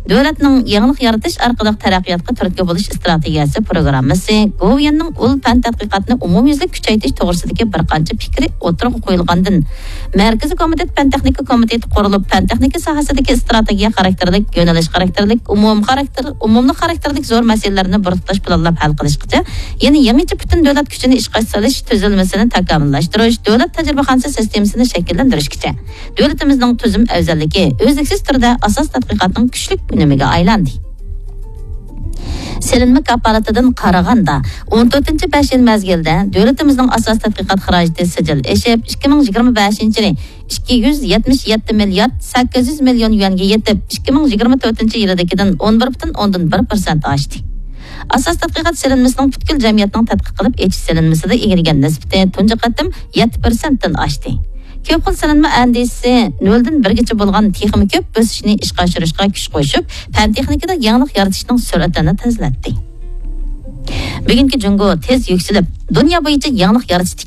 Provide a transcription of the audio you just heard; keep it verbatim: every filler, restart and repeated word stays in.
دۆلەتنىڭ يېڭىلىق يارىتىش ئارقىلىق تەرەققىياتقا تۈرتكە بولۇش ئىستراتېگىيەسى پروگراممىسى، گوۋۇيۈەننىڭ ئۇل پەن تەتقىقاتىنى ئومۇميۈزلۈك كۈچەيتىش توغرىسىدىكى بىر قانچە پىكرى ئوتتۇرىغا قويۇلغاندىن، مەركىزىي كومىتېت پەن تېخنىكا كومىتېتى قۇرۇلۇپ، پەن تېخنىكا ساھەسىدىكى ئىستراتېگىيە خاراكتېرلىك، يۆنىلىش خاراكتېرلىك، ئومۇم خاراكتېر، ئومۇملۇق خاراكتېرلىك زور مەسىلىلەرنى بىر تۇتاش پىلانلاپ ھەل قىلىشقىچە يەنە يېڭىچە پۈتۈن دۆلەت كۈچىنى ئىشقا سېلىش تۈزۈلمىسىنى تاكامۇللاشتۇرۇش، دۆلەت تەجرىبىخانىسى سىستېمىسىنى شەكىللەندۈرۈشكىچە دۆلىتىمىزنىڭ تۈزۈم ئەۋزەللىكى ئۈزلۈكسىز تۈردە ئاساس تەتقىقاتنىڭ كۈچلۈك ئۈنۈمىگە ئايلاندى. سېلىنما كاپالىتىدىن قارىغاندا، ئون تۆتىنچى بەش يىل مەزگىلدە دۆلىتىمىزنىڭ ئاساسىي تەتقىقات خىراجىتى سىجىل ئېشىپ، ئىككى مىڭ يىگىرمە بەشىنچى يىلى ئىككى يۈز يەتمىش يەتتە مىليارد سەككىز يۈز مىليون يۈەنگە يېتىپ، ئىككى مىڭ يىگىرمە تۆتىنچى يىلىدىكىدىن ئون بىر پۈتۈن ئوندىن بىر پىرسەنت ئاشتى. ئاساسىي تەتقىقات سېلىنمىسىنىڭ پۈتكۈل جەمئىيەتنىڭ تەتقىق قىلىپ ئېچىش سېلىنمىسىدا ئىگىلىگەن نىسبىتى تۇنجى قېتىم يەتتە پىرسەنتتىن ئاشتى. كۆپ خىل سېلىنما ئەندىزىسى نۆلدىن بىرگىچە بولغان تېخىمۇ كۆپ بۆسۈشنى ئىشقا ئاشۇرۇشقا كۈچ قوشۇپ، پەن تېخنىكىدا يېڭىلىق يارىتىشنىڭ سۈرئىتىنى تېزلەتتى. بۈگۈنكى جۇڭگو تېز يۈكسىلىپ، دۇنيا بويىچە يېڭىلىق يارىتىشتا